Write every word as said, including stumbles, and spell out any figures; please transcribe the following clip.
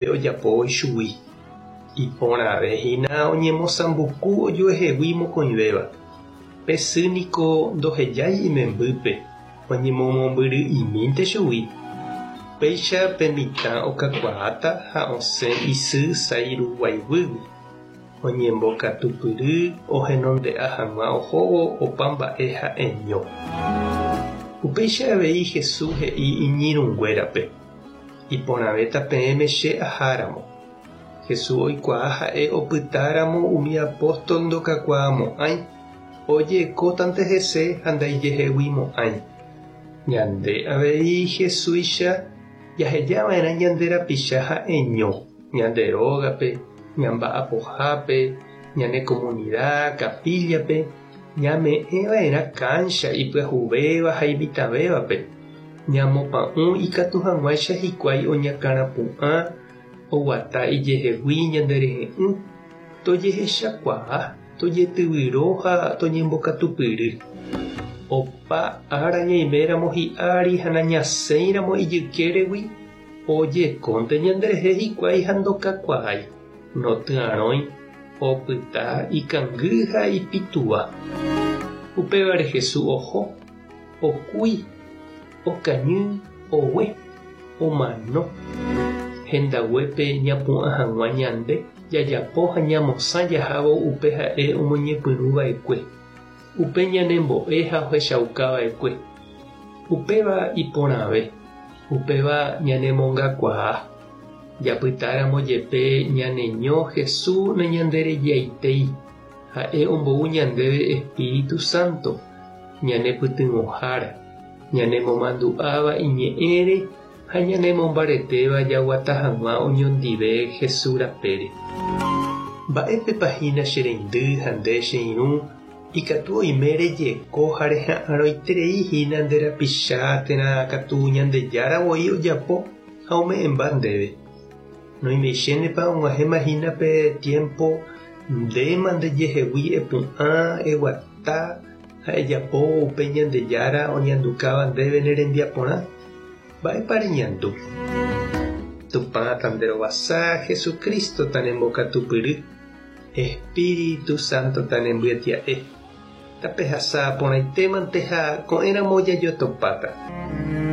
Ojapóvo ichugui. Iporãvehína oñemosãmbuku ojuehegui mokõivéva. Pe sy niko ndohejái imembýpe oñemomombyry'imínte chugui. Péicha pe mitã okakuaáta ha osẽ isy sái ruguaiguýgui. Oñembokatupyry ohenonde'a hag̃ua ohóvo opa mba'e ha'eño. Upéicha avei Jesús he'i iñirũnguérape. Iporãvéta peẽme che aháramo. Jesús oikuaa ha'e opytáramo umi apóstol ndokakuaamo'ãi ojekótante hese ha ndaijeheguimo'ãi. Ñande avei Jesúicha jahejava'erã ñande rapicha ha'eño, ñande rógape, ñamba'apohápe, ñane comunidad, capilla-pe, ñame'ẽva'erã cancha ipyahuvéva ha imitãvévape. Ñamopa'ũ ikatu hag̃uáicha hikuái oñakãrapu'ã oguata ijehegui ñanderehe'ỹ, tojehechakuaa, tojetyvyro ha toñembokatupyry. Opa ára ñaiméramo hi'ári ha nañasẽiramo ijykéregui ojekónte ñanderehe hikuái ha ndokakuaái, notyarõi, opyta ikangy ha ipitúva. Upévare Jesús oho, okúi, okañy, ogue, omano. Hendaguépe ñapu'ã hag̃ua ñande jajapo ha ñamosã jahávo upe ha'e omoñepyrũva'ekue. Upe ñanembo'e ha ohechaukava'ekue. Upéva iporãve. Upéva ñanemongakuaa. Japytáramo jepe ñaneño Jesús nañanderejaitéi. Ha'e ombou ñandéve Espíritu Santo, ñanepytyvõhára, ñanemomandu'áva iñe'ẽre ha ñanemombaretéva jaguata hag̃ua oñondive Jesús rapére. Mba'épepa hína che reindy ha nde che irũ ikatu oime rejeko ha reha'arõiterei hína nde rapicha térã katu Ñandejára voi ojapo ha ome'ẽmba ndéve. Noimeichénepa og̃uahẽma hína pe tiempo ndéma ndejehegui epu'ã eguata ha ejapo upe Ñandejára oñandukáva ndéve ne rembiaporã. Mba'épa reñandu. Tupã tanderovasa Jesucristo tanembokatupyry. Espíritu Santo tanembyetia'e. Tapehasa porãitémante ha ko'ẽramo jajotopáta.